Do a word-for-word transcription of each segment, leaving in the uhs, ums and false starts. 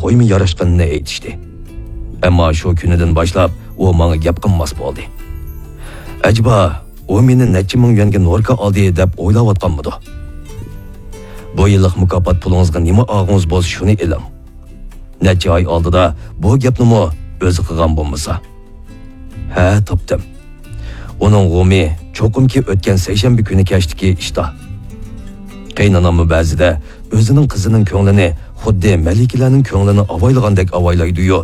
بويىمۇ ياراشقىنىنى ئېيتىشتى. ئەمما شۇ كۈنىدىن باشلاپ ئۇ ماڭا گەپ قىلماس بولدى. ئەجەبا، ئۇ مېنى نەچچە مىڭ يۈەنگە نوركا ئالدى دەپ ئويلاۋاتقانمىدۇ؟ بۇ يىللىق مۇكاپات پۇلىڭىزغا نېمە ئالغۇڭىز بولسا، شۇنى ئېلىڭ. نەچچە ئاي ئالدىدا بۇ گەپنىمۇ ئۆزى قىلغان بولمىسا. ھە، تاپتىم. ئۇنىڭ غۇمى چوقۇمكى ئۆتكەن سەيشەنبە كۈنى كەچتىكى ئىشتا. قېيىنئاناممۇ بەزىدە ئۆزىنىڭ قىزىنىڭ كۆڭلىنى خۇددى مەلىكىلەرنىڭ كۆڭلىنى ئاۋايلىغاندەك ئاۋايلايدۇ-يۇ،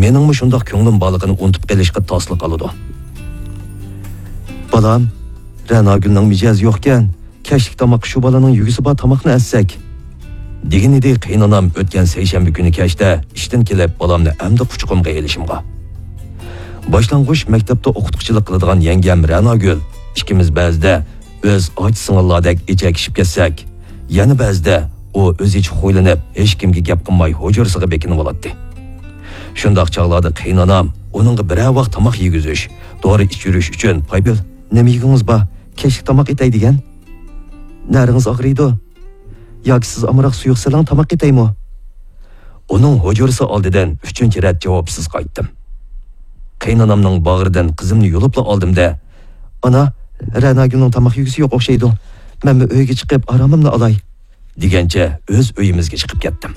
مېنىڭمۇ شۇنداق كۆڭلۈم بارلىقىنى ئۇنتۇپ قېلىشقا تاسلا قالىدۇ. بالام، رەناگۈلنىڭ مىجەزى يوقكەن، كەچلىك تاماققا شۇ بالىنىڭ يۈگىسى بار تاماقنى ئەتسەك، دېگىنىدى قېيىنئانام ئۆتكەن سەيشەنبە كۈنى كەچتە ئىشتىن كېلىپ بالامنى ئەمدى قۇچىقىمغا ئېلىشىمغا. باشلانغۇچ مەكتەپتە ئوقۇتقۇچىلىق قىلىدىغان يەڭگەم رەناگۈل ئىككىمىز بەزىدە ئۆز ئاچا سىڭىللاردەك ئېچەكىشىپ كەتسەك، يەنە بەزىدە ئۇ ئۆزىچە خۇيلىنىپ، ھېچكىمگە گەپ قىلماي ھۇجرىسىغا بېكىنىۋالاتتى. شۇنداق چاغلاردا قېيىنئانام ئۇنىڭغا بىرەر ۋاق تاماق يېگۈزۈش، دورا ئىچۈرۈش ئۈچۈن پايپېل، نېمە يېگۈڭىز بار؟ كەچلىك تاماق ئېتەي دېگەن. نەرىڭىز ئاغرىيدۇ. ياكى سىز ئامراق سۇيۇق سېلىڭ، تاماق ئېتەيمۇ؟ ئۇنىڭ ھۇجرىسى ئالدىدىن ئۈچىنچى رەت جاۋابسىز قايتتىم. قېيىنئانامنىڭ باغرىدىن قىزىمنى يۇلۇپلا ئالدىم-دە، ئانا، رەناگۈلنىڭ تاماق يېگۈسى يوق ئوخشايدۇ. مەنمۇ ئۆيگە چىقىپ ئارامىمنى ئالاي، دېگەنچە ئۆز ئۆيىمىزگە چىقىپ كەتتىم.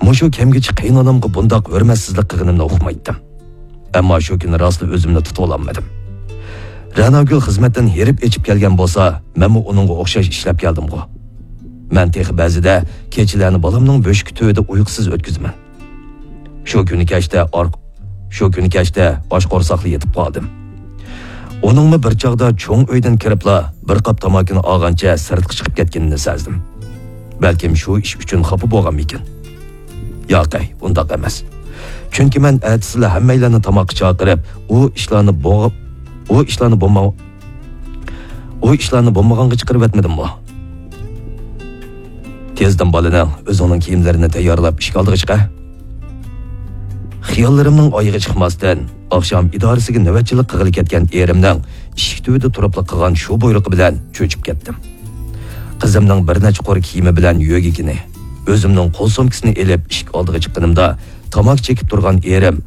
مۇشۇ كەمگىچە قېيىنئانامغا بۇنداق ھۆرمەتسىزلىك قىلغىنىمنى ئۇقمايتتىم. ئەمما شۇ كۈنى راستلا ئۆزۈمنى تۇتۇۋالالمىدىم. رەناگۈل خىزمەتتىن ھېرىپ ئېچىپ كەلگەن بولسا، مەنمۇ ئۇنىڭغا ئوخشاش ئىشلەپ كەلدىمغۇ. مەن تېخى بەزىدە كېچىلەرنى بالامنىڭ بۆشۈكى تۈۋىدە ئۇيقۇسىز ئۆتكۈزىمەن. شۇ كۈنى كەچتە ئار-، شۇ كۈنى كەچتە ئاچ قورساقلا يېتىپ قالدىم. ئۇنىڭمۇ بىر چاغدا چوڭ ئۆيدىن كىرىپلا بىر قاپ تاماكىنى ئالغانچە سىرتقا چىقىپ كەتكىنىنى سەزدىم. بەلكىم شۇ ئىش ئۈچۈن خاپا بولغانمىكىن؟ ياقەي، ئۇنداق ئەمەس. چۈنكى مەن ئەتىسىلا ھەممەيلەننى تاماققا چاقىرىپ، ئۇ ئىشلارنى بوغۇپ، ئۇ ئىشلارنى بولما-، ئۇ ئىشلارنى بولمىغانغا چىقىرىۋەتمىدىممۇ؟ تېزدىن بالىنىڭ، ئۆزۈڭنىڭ كىيىملىرىنى تەييارلاپ ئىشىك ئالدىغا چىق ھە. خىياللىرىمنىڭ ئايىغى چىقماستىن، ئاخشام ئىدارىسىگە نۆۋەتچىلىك قىلغىلى كەتكەن ئېرىمنىڭ ئىشىك تۈۋىدە تۇرۇپلا قىلغان شۇ بۇيرۇقى بىلەن چۆچۈپ كەتتىم. قىزىمنىڭ بىر نەچچە قۇر كىيىمى بىلەن يۆگىكىنى، ئۆزۈمنىڭ قول سومكىسىنى ئېلىپ ئىشىك ئالدىغا چىققىنىمدا، تاماكا چېكىپ تۇرغان ئېرىم